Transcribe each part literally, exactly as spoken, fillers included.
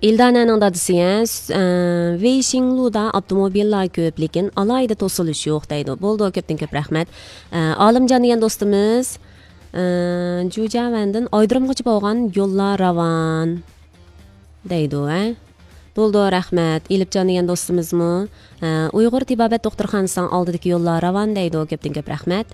ئىلدانەنىڭ دادىسى، ھە، س-، ئە، ۋېيشىڭلۇدا ئاپتوموبىللار كۆپ، لېكىن ئالاھىدە توسۇلۇش يوق دەيدۇ. بولدى، كۆپتىن كۆپ رەھمەت. ئە، ئالىمجان دېگەن دوستىمىز، ئە، جۇجياۋەندىن ئايرودرومغىچە بولغان يوللار راۋان دەيدۇ، ھە. بولدى، رەھمەت. ئېلىپجان دېگەن دوستىمىزمۇ، ئە، ئۇيغۇر تېبابەت دوختۇرخانىسىنىڭ ئالدىدىكى يوللار راۋان دەيدۇ. كۆپتىن كۆپ رەھمەت.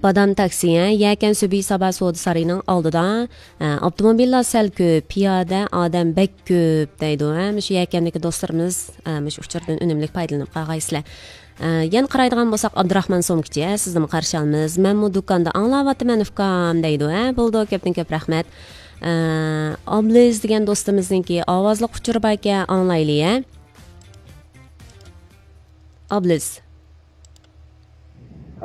بادام تاكسى، ھە، يەكەن سۈبھى سابا سودا سارىيىنىڭ ئالدىدا، ھە، ئاپتوموبىللار سەل كۆپ، پىيادە ئادەم بەك كۆپ دەيدۇ، ھە، مۇشۇ يەكەندىكى دوستلىرىمىز، ھە، مۇشۇ ئۇچۇردىن ئۈنۈملۈك پايدىلىنىپ قالغايسىلەر. ھە، يەنە قارايدىغان بولساق، ئابدۇراخمان سومكىچى، ھە، سىزنىمۇ قارشى ئالىمىز. مەنمۇ دۇكاندا ئاڭلاۋاتىمەن ئۇكام دەيدۇ، ھە، بولدى، كۆپتىن كۆپ رەھمەت. ھە، ئابلىز دېگەن دوستىمىزنىڭكى ئاۋازلىق ئۇچۇرى باركەن، ئاڭلايلى، ھە. ئابلىز.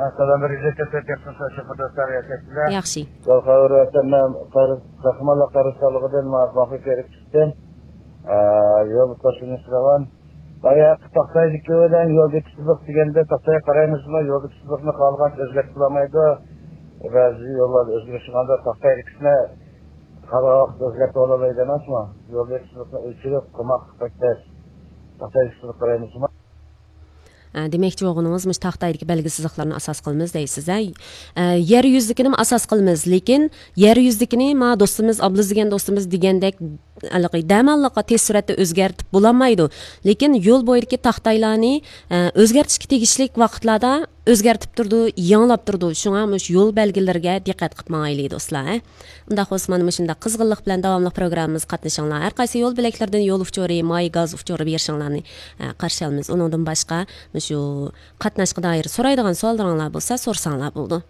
ئەسسالام، بىر يۈز يەتتە تۆت، ياخشىمۇسىلەر، شۇ قىرداشلار ياشايسىلەر؟ ياخشى. يول خەۋىرى ئەسەمنىڭ قەرز، قەھرىمانلار قەرز سالىقىدىن مۇۋاپىق بېرىپ چىقتىم. ئە، يول توسۇلۇش راۋان. باياقى تاختايدىكى بىلەن يولدىكى سىزىق دېگەندە، تاختايغا قارايمىزمۇ؟ يولدىكى سىزىقنى خالىغانچە ئۆزگەرتىپ بولالمايدۇ. بەزى يوللاردا ئۆزگىرىش بولغاندا تاختايدىكىسىنى خالىغان ۋاقىتتا ئۆزگەرتىپ بولالايدۇ ئەمەسمۇ؟ يولدىكى سىزىقنى ئۆچۈرۈپ قويماق بەك تەس. تاختايدىكى سىزىق قارايمىزمۇ؟ ئە، دېمەكچى بولغىنىڭىز مۇشۇ تاختايدىكى بەلگە سىزىقلارنى ئاساس قىلىمىز دەيسىز، ھە؟ ئە، يەر يۈزىدىكىنىمۇ ئاساس قىلىمىز، لېكىن يەر يۈزىدىكىنى ما دوستىمىز، ئابلىز دېگەن دوستىمىز دېگەندەك، ھېلىقى دەماللىققا تېز سۈرئەتتە ئۆزگەرتىپ بولالمايدۇ. لېكىن يول بويىدىكى تاختايلارنى، ئە، ئۆزگەرتىشكە تېگىشلىك ۋاقىتلاردا ئۆزگەرتىپ تۇرىدۇ، يېڭىلاپ تۇرىدۇ. شۇڭا مۇشۇ يول بەلگىلىرىگە دىققەت قىلىپ ماڭايلى، دوستلار، ھە؟ ئۇنداق بولسا، مانا مۇشۇنداق قىزغىنلىق بىلەن داۋاملىق پروگراممىمىزغا قاتنىشىڭلار. ھەر قايسى يول بۆلەكلىرىدىن يول ئۇچۇرى، ماي گاز ئۇچۇرى بېرىشىڭلارنى، ئە، قارشى ئالىمىز. ئۇنىڭدىن باشقا، مۇشۇ قاتناشقا دائىر سورايدىغان سوئاللىرىڭلار بولسا، سورىساڭلار بولىدۇ.